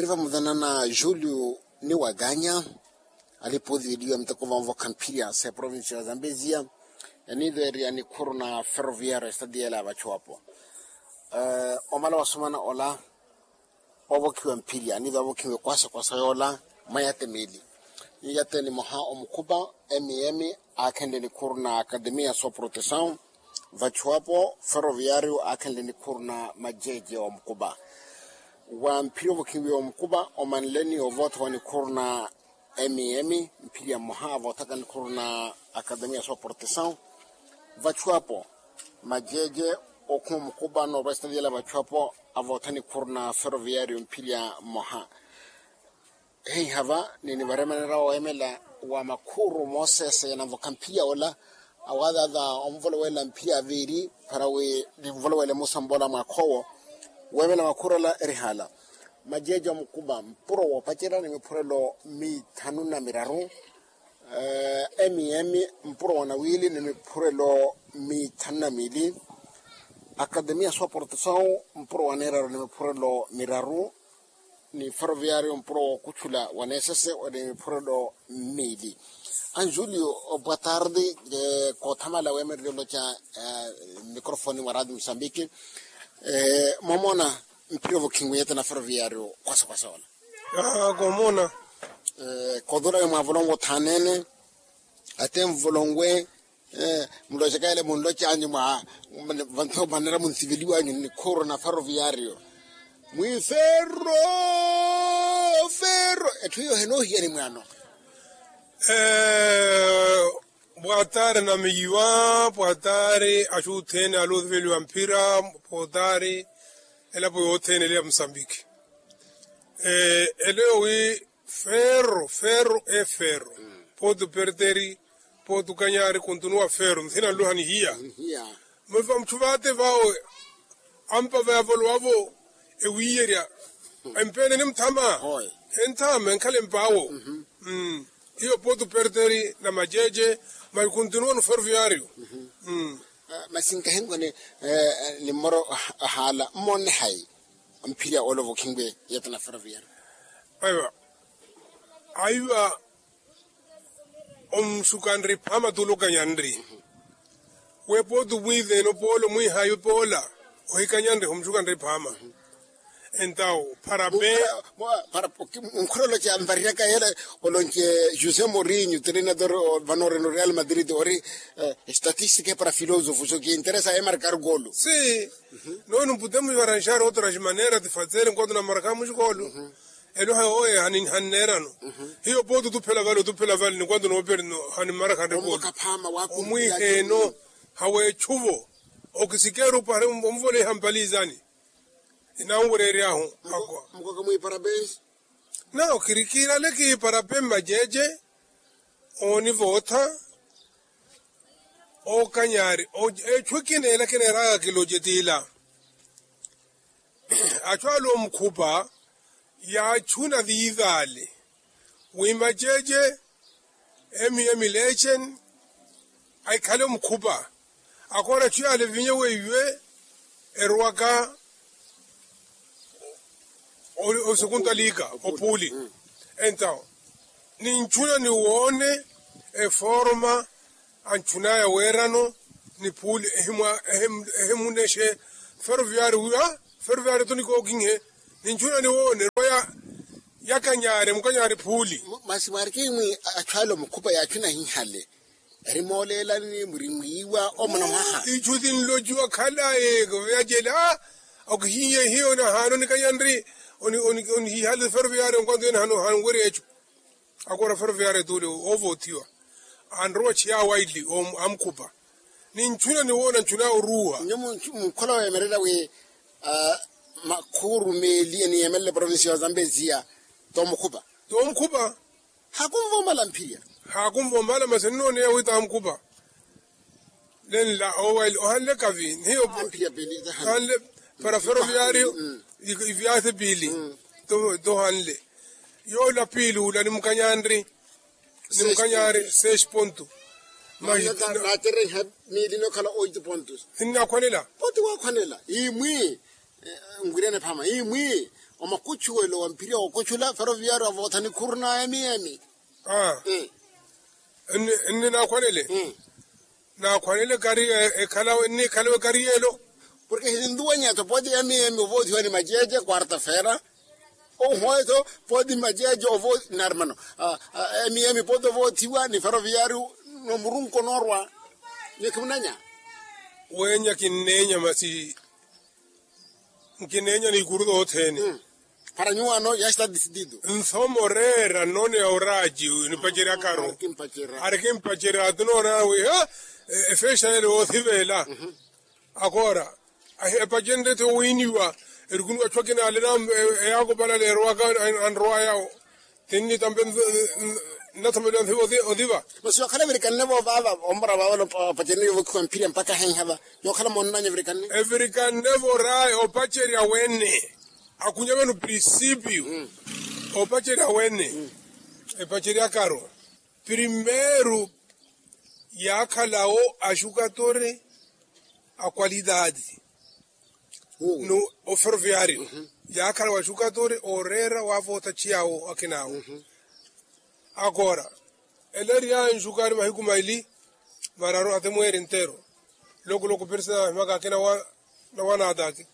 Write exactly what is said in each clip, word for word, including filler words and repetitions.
Ri vamuvena na julio ni wakanya alipooti veliwa miteko vamuvokha mphirya sa eprovincia ya zambezia. Eniiveerya nikhuru na ferroviario estadiela ya vachuwapo. Omala wasomana ola ovokhiwa mphirya aniive avokhiwe kwasa kwasa yoola mwa yate miili. Ni yate nimoha omukhupa, mm, aakhenle nikhuru na akademia so protesaw. Vachuwapo ferroviario aakhenle nikhuru na majeje omukupa. Wa mphirya ovokhiwiwa omukupa omanleni ovootha wa nikhuru na mm mphirya mmoha avoothaka nikhuru na akademia so protesaw. Vachuwapo majeje okhuma omukupa noorwa esitadiyela vachuwapo avootha nikhuru na ferroviario mphirya mmoha. Heiha va ninivaremanera oweemela wa makhuru moosese yanamvokha mphirya ola. Awaadhaadha onvolowela mphirya aviiri para wi ninvolowele musambola mwakhoowo. Weemela makhuru ala eri haala majeje omukupa mpuro woopacerya ni miphurelo mithanu na miraru. Emiemi mpuro wa nawiili ni miphurelo mithanu na miili. Akademia so protesaw mpuro wa neeraru ni miphurelo miraru. Ni ferroviario mpuro wookuchula wa neesese ni miphurelo mmiili. Anjulio, boa tarde. Koothamala weemererye oloca microfoni mwa radio musambiki. Mwamoona mphirya ovokhinwe yete na ferroviario kwasa kwasa ola. Koomoona. Kootula wi mwaavolonwe othaanene ate nvolonwe. Muloceka yale munlocanyu mwa vanthu omanera munsiveliwanyu nikhuru na ferroviario mwi ferro ferro etthu hiyo henoohiya ni mwaano. Pwatari anamiyiwa pwatari axuthene alosiveliwa mphira pwatari elapo yothene ele ya musambiki. Eleyo wi ferro ferro e ferro potu perteri potu kanyari kontunuwa ferro nthina nluha nihiya. Mwiva mutthuvate vawe ampa vayavolo wavo ewiyerya empene ni muthama. Enthama enkhala empawo. Hiyo potu perteri na majeje maikuntunuwa no ferroviario. Masi nkahinkoni ni mmoro ahaala mmonne hayi mphirya ole ovokhinwe yete na ferroviario. Aiva aiva omuxukanri phama tulo kanyanri. Wepooti omwiiveene opoola omwiihaayi opoola ohikanyanriha omuxukanri phama. Entawo pharape. Nkhoroloca nvariraka yela olonce josé morinho trenador vanoreno real madrid ori estatistika para filosofo so kiinteresa emarkar golo. Si. Nono mputemo ivaranxari otras manera tifatsele nkwatuna markar muxikolo. Elo hayo oye hanneerano hiyo pooti otuphela vale otuphela vale ni kwanto nooperi no hanimara khanre pooti. Omwiiheeno haweechuvo okisikeru pari omuvoleiha mpalizani. Inanwureeryahu akwa. Mukaka mwiipara pensi. Nawo kirikiirale kiipara pe mmajeje oonivootha. Okanyaari echu ekineela kineeraka kiloce tiila. Achu ala omukhupa yaachuna viivaale wi maceece emiyo emileeceni ahikhale omukhupa. Akoora achu yaale vinyo weiwe erowaka osukuntalika opuuli. Entawo ninchuna niwoone eforma anchunaya weerano ni phuuli ehimunexe feroviari wiya feroviari to nikookinhe. Ninchuna niwoone erowa yakanyaari mukanyaari phuuli. Masi mwarikimwi achu ale omukhupa yaachuna hihale eri mooleelani murimwiiwa omuna mwaha. Ichu sinlociwa khalaye yacela okihiye hiyo nahaano nikanya nri onihihale feroviari onkwanto yene hano hanweri echu. Akoora feroviari tule ovoothiwa anrowa chiyawa ili amukhupa. Ninchuna niwoona nchuna oruuha. Nyo munkhola weemerela wi makhuuru meeli eniyeemelela eprovincia ya zambezia tomukhupa. Tomukhupa. Haakunva omala mphirya. Haakunva omala masi nnooneya wi tamukhupa. Nenla ohanle kavi nihiyo. Ohanle para feroviario iviase piili. Tohanle yoola piili ula nimukanyanri nimukanyanri seis ponto. Naatereha miili nokhala oito pontos. Sinnakhwanela. Poti wakhwanela imwi. Nkwirene phama imwi Omakutchuwelo wa mphirya wookuttchula feroviyaari wavootha nikhuru na emiemi. Nni naakhwanele. Naakhwanele kari ekhalawe nnikhalawe kari yeelo. Porke hininduwanya tho pooti emiemi ovoothiwa ni maceece quarta-feira. Ohweetho pooti maceece ovoothiwa ni armano. Emiemi pooti ovoothiwa ni feroviyaari. Nomurunko noorwa. Nyo khimunanya. Weenya kinneenya masi. Nkineenya n'ikuru tothene. Para nyuwaano yaastati sititu. Nsomo reera nnoneya oraaci nipacerya karu. Arikimpacerya ati noonaana wi efexa ele woothivela. Akoora epacenrye ti owiiniwa. Erikuniwa achwakina ale na eyaakopala leerowaka. Anrowaya. Tinni tampe nnathomeliwa nsiva otiva. Masi yookhala evirikanne-vo vaava ompora vaava. Opaceriwa vokhiwa mphirya mpakha ahenha va. Yookhala moonnanya evirikanne. Evirikanne-vo raaya opacerya wene. Akhunya vano prinsipio opacerya wene. Epaceryakaru primeiro yaakhala-wo axukatore a qualidade. No oferoviario yaakhala waxukatore ooreera waavoota chiyawo akhinawo. Akoora ela eri yanxukaari mahiku maili mararu atemweeri entero. Loku loku persena ahimaka akina na wanaataki.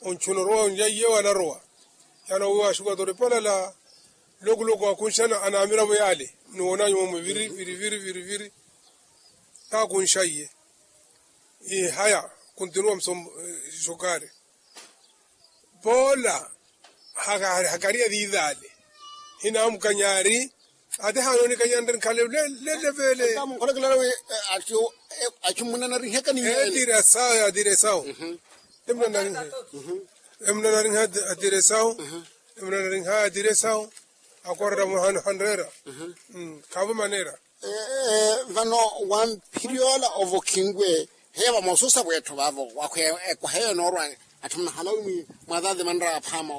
Ontchuna orowa onjaiye wanarowa. Yaana owiwa axukatore palala. Loku loku akunxana anaamiravo yaale. Niwoonanyu momwe viri viri viri viri viri. Kaakunxaiye. Ihaya kuntinuwa msombo. Xukari poola hakariya viivaale. Hinaamukanyari ati haanoonikanyari nkhale lelevele. Amunkholokelala wi achu munanariheka ni etirasao yatiresao. Emunanariha atiresao. Emunanariha atiresao. Akorera muhano hanrera. Khaavo manera. Vano wamphiryola ovokhinwe heya vamosusa vwetthu vaavo. Ekwaha eyo noorwa atthu munahala wi mwaathaathe manraya aphaama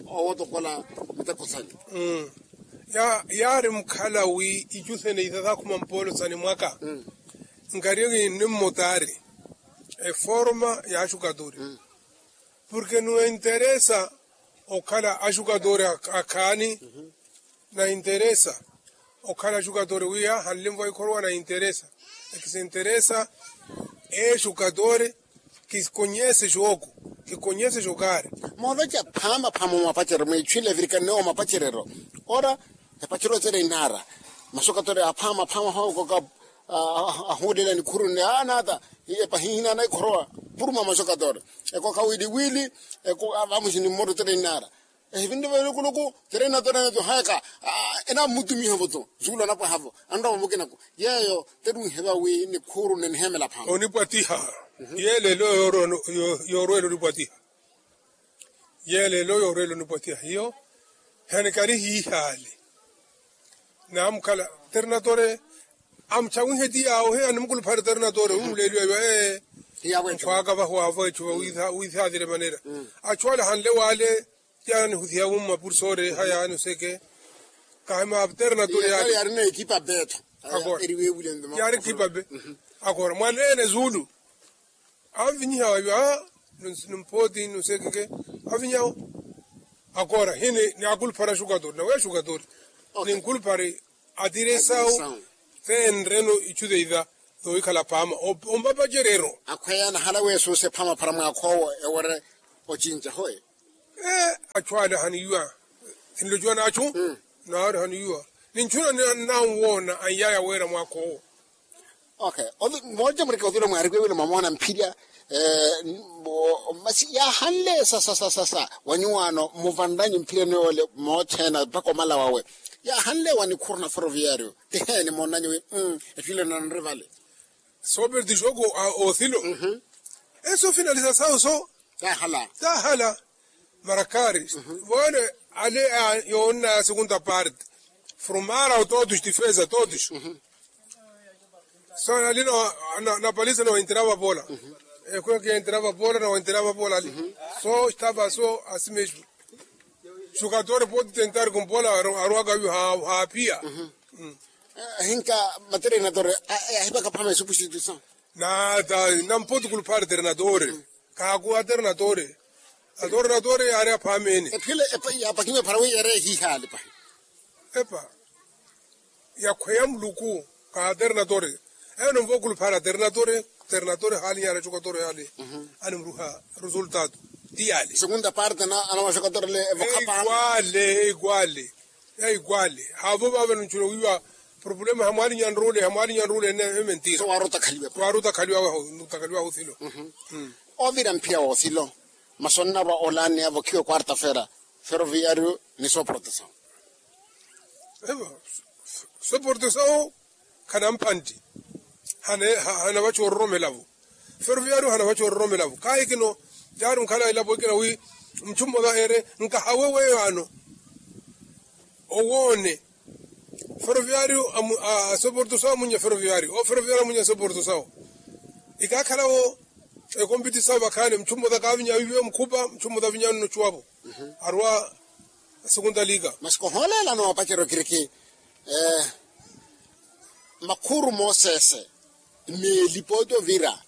owotokola miteko sanyu. Yaari mukhala wi ichu sene ithathakhuma mpoolo sani mwaka. Nkariyo kinimmotaari eforma ya axukaturi. Porke nuenteresa okhala axukaturi akhaani. Nainteresa okhala axukatore wiya hanlimva ikhorowa nainteresa. Ekisinteresa exukatore. Kikonyese xooku kikonyese xokaari. Mooloca phaama phaama omapacerero mwiichwile evirikanne omapacerero. Ora epacerero tere inaara maxukatore aphaama phaama hookoka. Ahuulela nikhuru nne anaata epahihinana ikhorowa puruma maxukatore. Ekoka wili wili eko avamuxi ni mmotta tere inaara. Ehivinre velukuluku tere nato tere nato haeka. Enammutumiha voto zuula napwaha vo anrova mukinako yeeyo. Tere unheva wi nikhuuru nenihemela phaama onipwatiha. Yeelelo yoorwela onipwatiha. Yeelelo yoorwela onipwatiha hiyo. Hanikari hiihaale naamukhala tere natore. Amuchawihe ti yaawo he animukuluphale tere natore unleeliwa iwa ee. Nkhwaaka vahu waavo echu va wiisaatire manera. Achu ale hanle waale. Yaani husiha wumma pursoore ha yaani oseke. Kahima ternator yaari. Yaari ekipa be. Akora mwaneene zuulu anvinyiha wayo a. Nimpooti nosekeke avinyawo. Akora hini ni akulupara xukatori nawe xukatori. Ninkulupari atiresawu. Fenreno ichu theiva. Thowikhala phaama ompapacerero. Akhweya nahala weesuuse phaama phara mwaakha owo ewere ocinca hoe. Achu ale haniiwa. Sinlocuwa nachu naari haniiwa. Ninchuna nanwoona anyaya weera mwaakha owo. Okay. Mooja mureke othula mwaarikwewile mwamoona mphirya. Masi yaahanle sasa sasa sasa wanyuwaano muvanranyu mphirya noole moothena mpakha omala wawe. Yaahanle wa nikhuru na ferroviario tiheeni moonanyu wi? Etthu ile nanri vale. Sooperti xooku othilo. Eso finalisa sawu so. Taahala. Taahala. Marakari. Vone ale yoonna segunda parte. Formara totus tifeza totus. So ali napalisa nawentirava pola. Ekwe kentirava pola nawentirava pola ali. So estava so asimesmo. Xukatore poti tentari kumpola arwaka yu hapia. Hinka materinatore ahipaka phama esupustituisaw. Nata nampoti kulupari terinatore. Kakuwa terinatore. Atornatore yaari aphaamene. Ephile yapakiwe phara wi yeere ehiihaali pahi. Epa yakhweya muluku. Ka aternatore eno nvookulu phara aternatore. Aternatore haali yaari achokatore haali. Animuruha resultado. Ti yaali. Segunda parte na anawaxokatore le evokhapa. Ekwale ekwale. Ekwale haavo vaavano nchuna wiiwa. Problema hamwaali nyanrule hamwaali nyanrule ene ementira. Waaruta khaliwaho. Nuta khaliwaho silo. Ovira mphiya woothilo. Masi onnarwa olaani avokhiwe quarta fera. Feroviario ni soportasawo. Evo soportasawo. Khanamphantti. Hanavacha ororomela-vo. Feroviario hanavacha ororomela-vo kaahikino. Yaari nkhala elapo ekina wi muchu mmosa eere nkahawe weyo ano. Owoone. Feroviario asoporto sawo amunnya feroviario owo feroviario amunnya asoporto sawo. Ikaakhala-wo ekompiti sawo vakhaani muchu mmosa kaavinya wiiviwe mukhupa muchu mmosa avinyano nochuwa-vo. Aruwa. Asekunta liika. Masi kohooleela noopacerya okiriki. Makhuru mooseese meeli pooti ovira.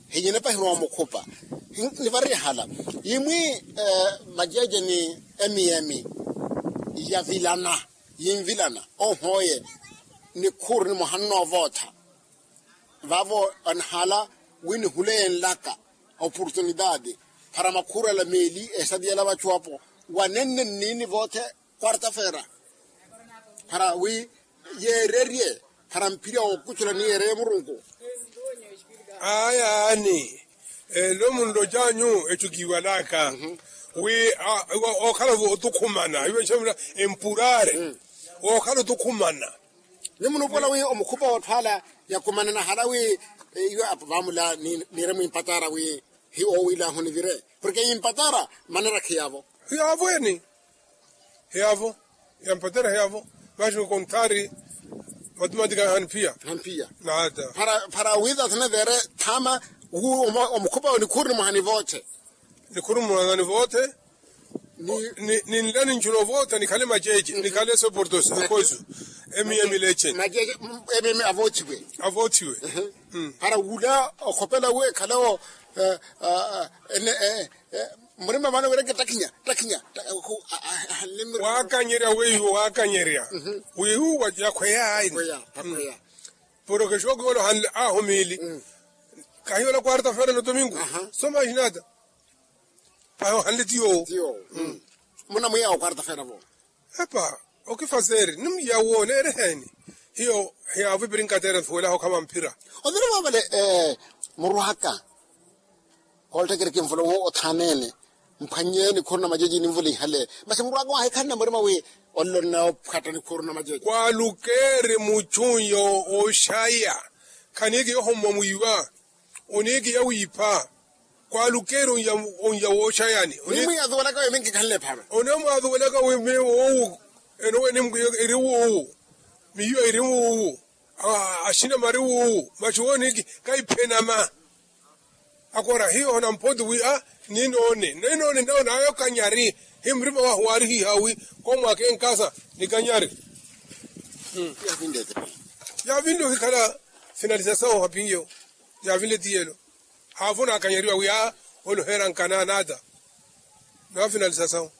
Hinyene pahi rowa mukhupa. Nivari ehala yimwi majeje ni emiyemi yavilana yinvilana. Ohooye nikhuru nimoha nnoovootha. Vaavo anahala wi nihuleye nlaka oportunidade para makhuru ala meeli esati yala vachu apo wanenne nniini voothe. Quarta fera para wi yeererye para mpira wookuchula ni yeereye murunku. Ayaani elo munlocanyu echo kiiwalaka wi okhala otukhumana iwe nxamula empurare. Okhala otukhumana. Ni munuupola wi omukhupa wootthu ala yakumanana hala wi iwe apo vaamula niire mwimpatara wi hiwo owiilahu nivire porke yimpatara manera khiyaavo. Hiyaavo eni. Hiyaavo yampatera hiyaavo. Maxi konthari matumatika haniphiya. Haniphiya. Nata para wiitatha nivere thama wu omukhupa onikhuru nimoha nivooche. Nikhuru nimoha nivooche. Ninlani nchuno voota nikhale majeje nikhale soportos ekoisu. Emiya milechen. Majeje emiya avoothiwe. Avoothiwe. Para wula okhopela wu ekhale wo. Murima vano wireke takhinya takhinya. Wakanyerya weiwo wakanyerya. Weiwo yakhweya aini. Porokeshoki wala ohanle aho miili. Kahiyo la quarta fera no domingo. Soma ahinata. Pahi ohanle tiyo. Munamwiya wa quarta fera vo. Epa okifaseeri nimwiya wo neereheni. Hiyo hiyaavo ipirinkatera nsuwelaho khava mphira. Othene vavale murwaka. Koolttekeri kinvula owo othaneene. Mphwannye nikhuru na majeji ninvula ihale. Masi murwaka waahikhanna murima wi ollo nnaophatta nikhuru na majeji. Kwalukeeri muchunyo oxaya. Khaniiki yohommwa mwiiwa. Oniiki yawiipha. Kwalukeeri onya wooxayani. Nimwiya azuwelaka wi minkikhanle epharo. Onomwaazuwelaka wi miiwoowu. Enowe nimwiya iri woowu. Miiyo iri woowu. Axina mari woowu maxi wooniiki. Kaiphenama. Akora hiyo namphonti wi a ninoone ninoone nayo kanyari. Hi murima wahu waarihiha wi komwaka enkasa ni kanyari. Yaavinle ohikhala finalisasawo hapinyo. Yaavinle tiyelo. Haavo naakanyariwa wi a oloheera nkana nata. Nafinalisasawo.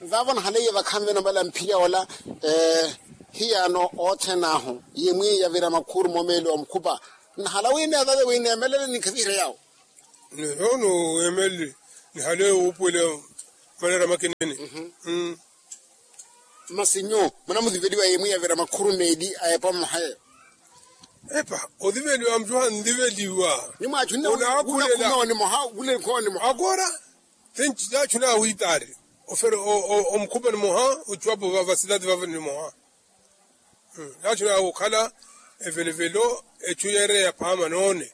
Vaavo nahaleiye vakhanve namala mphirya ola. Hiyaano othene ahu yimwi yavira makhuru momeeli wa mukhupa. Nahala wi neevave wi neemelele ninkhaviherya yawo. Nihale nihaleiye wuupuwela. Manera makinene. Masi nyu munamuziveliwa yimwi yavira makhuru meeli a epa mmoha yeyo. Epa oziveliwa mucuha nziveliwa. Nimwaachunnye. Akora. Tinci yaachuna awitaari. Ofere omukhupa nimoha ocuwapo vava silati vava nimoha. Yaachuna okhala evelevelo echu yeereya phaama noone.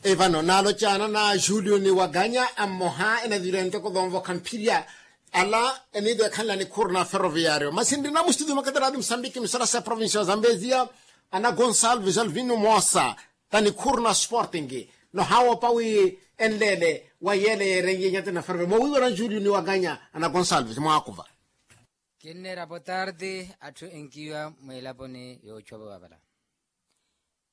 Evano naalocaana na julio ni waganya a mmoha enavira enteko vonvokha mphirya. Ala eniido ekhanla nikhuru na ferroviario masi nrina mustutio makataraati musambiki misarasa ya provincia ya zambezia. Ana gonsalves alvino moosa ta nikhuru na sporting. Nohaawopa wi enleele wa yeele yeerenye nyati na ferroviario moowiiwa na julio ni waganya ana gonsalves mwaakuva. Kinneera potarti atthu enkiiwa mweelaponi yoochwa vavala.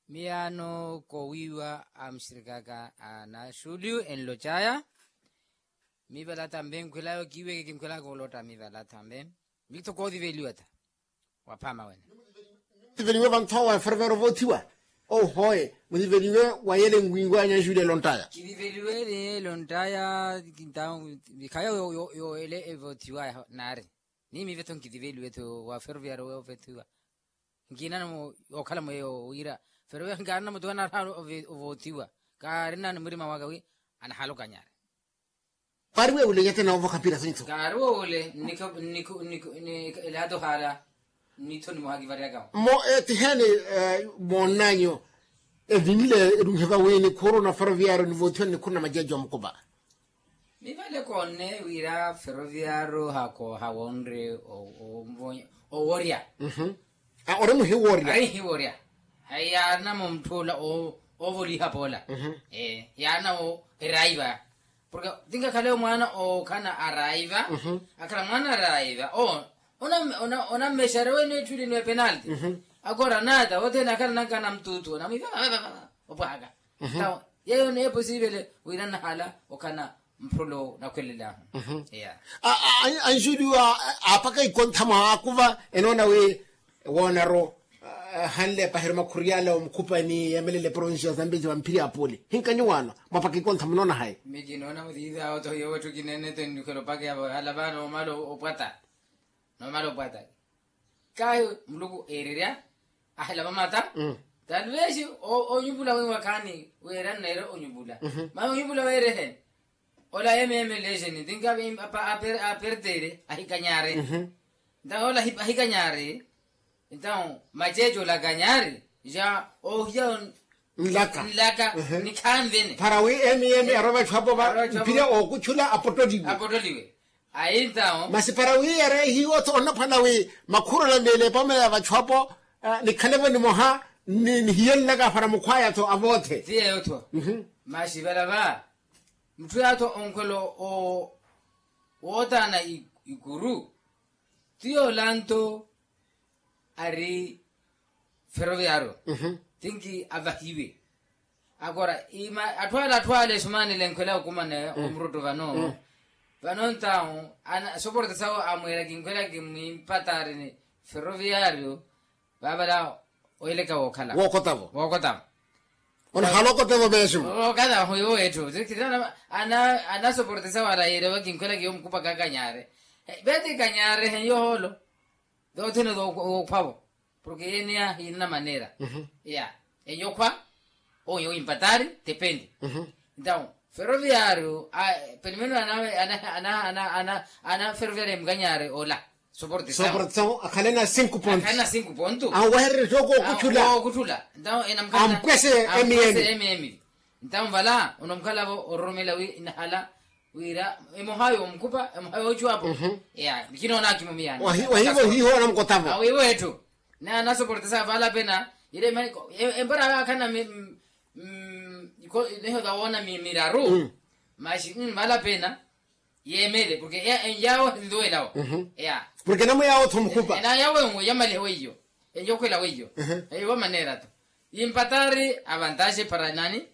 Miyaano koowiiwa a muxirikaka a na xulio enlocaya. Miivala tambe nkhwelaya okiiweke kinkhwelaka olotta miivala tambe. Mitho kootiveliwa ta. Waphaama wene. Mutiveliwe vanthowa fervero voothiwa. Ohoye mutiveliwe. Wayele nwiiwanya nxuulelo ntaya. Kitiveliwele yelo ntaya. Khayo yo yo yo ele evoothiwa. Naari ni miivetho nkitiveliwetho wa fervero weyo vethiwa. Nkinana mu okhala mweyo wira. Fervero nkaarina mutuwa naarha ovoothiwa. Kaarina ni murima waka wi anahala okanyari. Paari wewule nyate na ovokha mpira sinthu. Kaari wewule. Nnikho nnikho nnikho. Elato hala. Nitho nimohakivaryaka. Mo etiheeni moonnanyu. Evinle erunkhe vawiini khuru na ferroviario nivoothiwa nnikhuru na majeeji omukupa. Mivale koonne wira ferroviario hakooha wonre oworya. Ori muhiworya. Ari hiworya. Yaarina muntthula oovoliha poola. Yaarina eraiva. Porke tinkakhale omwaana ookhana araiva. Akhala mwaana araiva. Onammexari wene etthu line penalti. Akoora naata othene akhala nankana mtutu onamwiiva. Opwahaka. Tawo yeyo neepo siivele wira nnahala okhana. Mphulo nakhwelelahu. Anxuliwa aapaka ikontha mwa akuva enoona wi woonaru. Hanle epahiro makhuriyala omukhupani yeemelele provincia ya zambezi vamphiri apuli hinkanyu waano mwapaka ikontha munoona hayi? Mikinoona mutiithi awo tohiyo wetthu kineene tenikhela opaka yavo hala vaano omala opwata. Nomala opwata. Kahi muluku eererya ahilava mata. Taluvexi onyupula wiiwa khaani weera nneere onyupula. Masi onyupula weereheni. Ola emeemelexeni tinkavi apertere ahikanyari. Ntawe ola ahikanyari. Ntawe maceece ola akanyari ja ohiya nlaka nlaka. Nikhanvene para wi emiemi arowa vatthu apo va mpira ookuchula apotoliwe. Apotoliwe. Ayi ntawo. Masi para wi yareehiwa-tho onnaphwana wi makhurula meelepa omela ya vatthu apo. Nikhale-vo nimoha nihiye nlaka para mukhwaya-tho avoothe. Ti yeyo-tho. Masi vala va mutthu yaya-tho onkhwela wootaana ikuru. Ti yoolanto ari ferroviario. Tinki avahiwe. Akora atthu ala atthu ala esumanile nkhwela okumana omurutto vano. Vano ntawo soporte sawo amweera kinkhwela kimwimpatari ni ferroviario. Vavala oyeleka wookhala wookotavo. Wookotavo. Onahala okotavo mesimo. Okatavo hiwo etthu. Anasoporte sawo ala yeerewa kinkhwela kiyo mukupa kakanyare. Veti kanyare heyo hoolo. Toothene tookhwavo. Porke yeneya hiinana maneera. Ya enyokhwa oyo impatari tependi. Ntawo ferroviario pelimeno ana ferroviario emukanyari ola. Soporte sawo akhale na cinco ponto. Akhale na cinco ponto. Awehererye toko okuthula. Okuthula. Ntawo enamukhala ampwese emiemi. Ntawo vala onomukhalavo ororomela wi inahala. Wira emoha yoomukhupa emoha yoocuwapo. Ya kinoona akimumiyani wahivo hiho anamukotavo. Awivo etthu. Naye anasoportesa vala pena. Ile empara akhana niho tawoona miraru. Maxi vala pena yeemele porke enyawo enduwelawo. Ya porke namwe yawo-tho mukhupa. Enayawo enwe yamalihe weiyo. Enyokhwela weiyo. Eiwo maneera-tho. Yimpatari avantaxe para nani?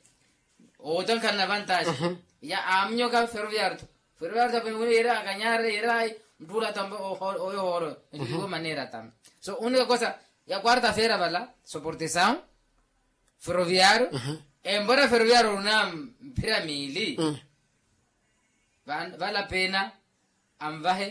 Owotankhalana avantaxe. Ya aamunyoka ferroviario-tho. Ferroviario-tho apene wino yeera akanyare yeera ayi. Mutthula tambe oyo hooro. Enjuliwe maneera tambe. So unika kosa ya quarta feira vala soportesawo. Ferroviario. Empora ferroviario oruna mphira miili. Vala pena anvahe.